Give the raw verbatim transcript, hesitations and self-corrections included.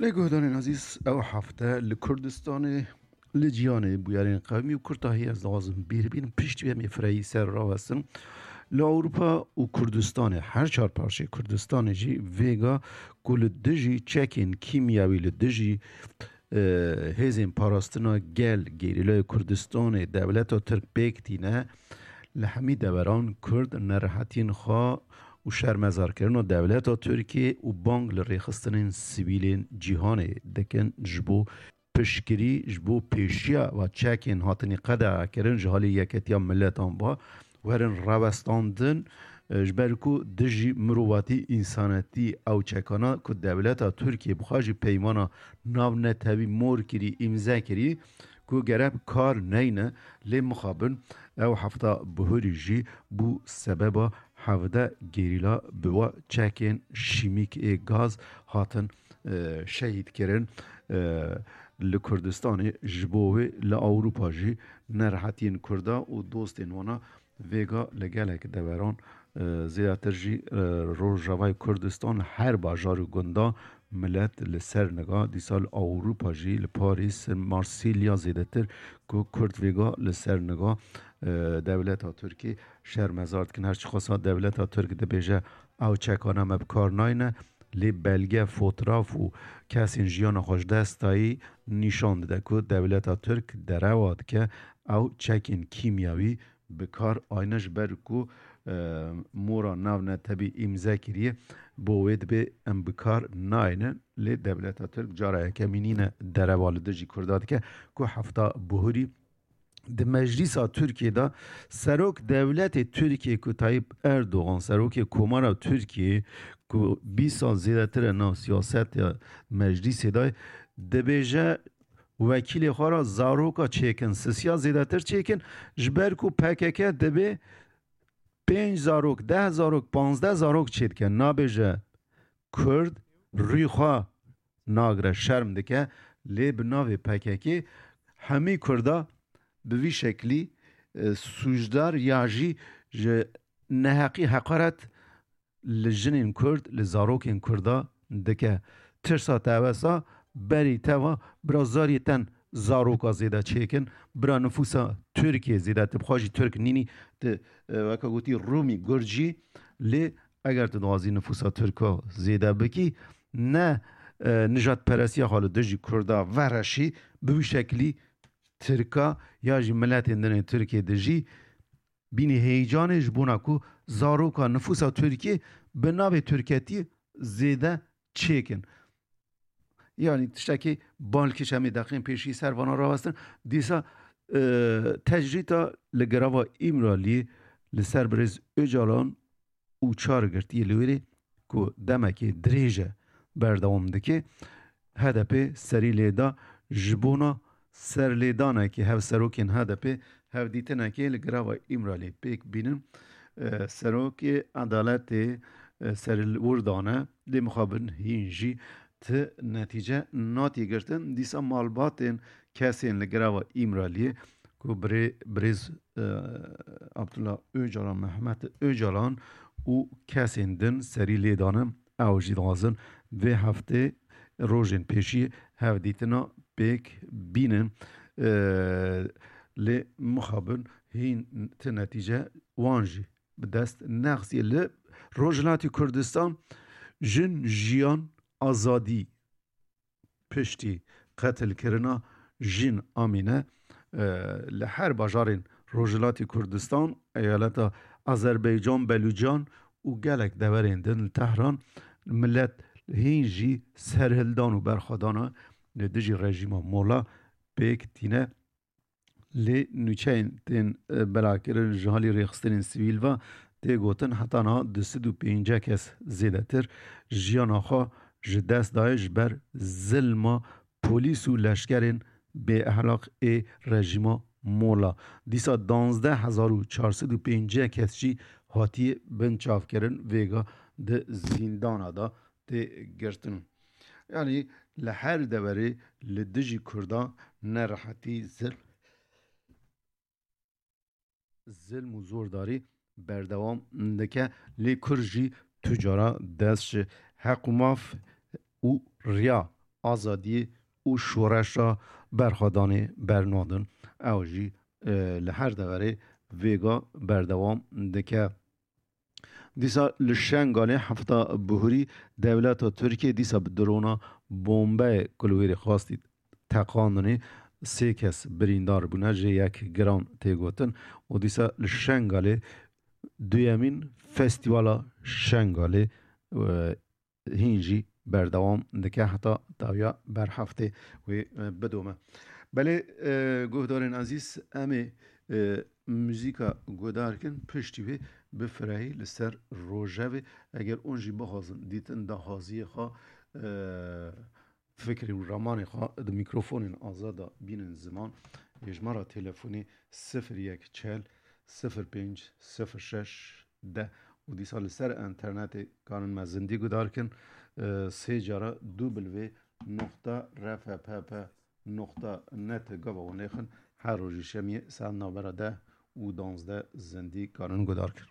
Lê guhdarên ezîz, ew hefte li Kurdistanê, li cîhanê bûyerên qewmî û kurtahî ez dixwazim bîr bînim, piştî em ê fireyî ser rawestin. Li Ewropa û Kurdistanê, her çar parçeyê Kurdistanê jî vêga ku li dijî çekên kîmyawî, li dijî, e, hêzên parastina gel, gerîlayê Kurdistanê, dewleta Tirk pêk tîne, li hemî deveran Kurd nerehetiyên xwe û şermezarkirina dewleta Tirkiyê û bang li rêxistinên sivîlên cîhanê dikin ji bo piştgirî, ji bo pêşiya va çekên hatinî qedexekirin ji halê Yeketiya Miletan va werin rawestandin, e, ji ber ku dijî mirovatî, însanetî ew çekana ku dewleta Tirkiyê bi xwe jî peymana navnetewî mor kirî, îmze kirî, ku gerek kar neyne, lê mixabin ew hefta bihurî jî bû sebeba hevdeh gerîla bi wa çekên şîmîk ê gaz hatin, e, şehîd kirin. E, li Kurdistanê ji bo wê li Ewropa jî nerehetiyên Kurda û dostên wana vêga li gelek deveran, e, zêdetir jî, e, Rojavayê Kurdistan her bajar û gunda milet li ser niga, dîsa li Ewropa jî li Parîs, Marsilya zêdetir ku Kurd vêga li ser niga, e, dewleta Tirkî şermezar dikin. Her çiqasa dewleta Tirk dibêje ew çekana me bi kar nayne, lê belge, fotraf û kesên jiyana xwe ji dest dayî nîşan dide ku dewleta Tirk derewa dike ew çekên kîmyawî bi kar ayne, ji ber ku, e, mora navnetebî îmze kiriye, bo wê dibê em bi kar nayne. Lê dewleta Tirk cara yekemî nîne derewa li dijî Kurda dike ku hefta bihurî di meclîsa Tirkiyê de serok dewletê Tirkiyê ku Tayyip Erdogan, serokê Komara Tirkiyê ku bîst sal zêdetir e nav siyaseta meclîsê de, dibêje wekîlê xwe re zaroka çêkin, sisiya zêdetir çêkin, ji ber ku P K K dibê pênc zarok, deh zarok, panzdeh zarok çêdike. Nabêje Kurd rûyê xwe nagire, şerm dike, lê bi navê P K K hemî Kurda bi vî şeklî, e, sûcdar ya jî ji neheqî heqaret li jinên Kurd, li zarokên Kurda dike. Tirsa te wesa berî te va bira zariyê ten zaroka zêde çêkin, bira nifûsa Tirkiyê zêde, tu bi xwe jî Tirk nînî, tu, e, weke gotî Rûmî, Gurcî, lê eger tu dixwazî nifûsa Tirka zêde bikî, ne, e, nijadperestiya xwe li dijî Kurda vereşî, bi wî şeklî Tirka ya jî miletên din ên Tirkiyê dijî bînî heyecanê ji bona ku zaroka nifûsa Tirkiyê bi navê Tirketî zêde çêkin. Yanî tiştekî balkêş em ê deqên pêşî ser vana rawestin. Dîsa, e, tecrîta li girava Îmraliyê li ser birêz Ocalan û çar girtiyê li wêrê ku demekê dirêj e berdewam dike, H D P serî lê da ji bona serlêdanekê hevserokên H D P hevdîtinekê li girava Îmraliyê pêk bînin. E, serokê edaletê, e, serî li wir dane, lê mixabin hîn jî ti netîce natiye girtin. Dîsa malbatên kesên li girava Îmraliyê ku birê-, birêz, e, Abdullah Ocalan, Mehmet Ocalan û kesên din serî lê dane, ew jî dixwazin vê heftê rojên pêşî hevdîtina pêk bînin. E, lê mixabin hîn ti netîce wan jî bi dest nexisiye. Li Rojhilatî Kurdistan jin, jiyan, azadî piştî qetilkirina Jîn Amîne, e, li her bajarên Rojhilatî Kurdistan, eyaleta Azerbaycan, Belûcan û gelek deverên din li Tehran, milet hîn jî serhildan û berxwedana li dijî rejîma Mola pêk tîne. Lê nûçeyên tên, e, belakirin ji halî rêxistinên sivîl ve tê gotin, heta niha du sed û pêncî kes zêdetir jiyana xwe ji dest daye ji ber zilma polîs û leşkerên bêehlaq ê rejîma Mola. Dîsa danzdeh hezar û çar sed û pêncî kes jî hatiye binçavkirin, vêga di zîndana de tê girtin. Yanî li her deverê li dijî Kurdan nerehetî, zil-, zilm û zordarî berdewam dike. Lê Kurd jî tu cara dest ji heq û maf û riya azadiyê û şoreşa berxwedanê bernadin. Ew jî, e, li her deverê vêga berdewam dike. Dîsa li Şengalê hefta bihurî dewleta Tirkiyê dîsa bi drona bombeyê ku li wêrê xwastî teqandinê sê kes birîndar bûne, jê yek giran tê gotin û dîsa li Şengalê duyemîn festîvala Şengalê, e, hîn jî berdewam dike heta dawiya berheftê wê, e, bidome. Belê, e, guhdarên ezîz, em ê, e, muzîka guhdar kin, piştî wê bi firehî li ser rojevê, eger hûn jî bixwazin dîtin dahaziyê xwe, e, fikrê û ramanê xwe di mîkrofonên azad de bînin ziman, hêjmara telefonê sifir yek çel sifir pênc sifir şeş deh û dîsa li ser enternetê karin me zindî guhdar kin, e, sê cara W noqta R F P P noqta net gava wan nêxin, her rojî şemiyê saet navbera deh û danzdeh zindî karin guhdar kin.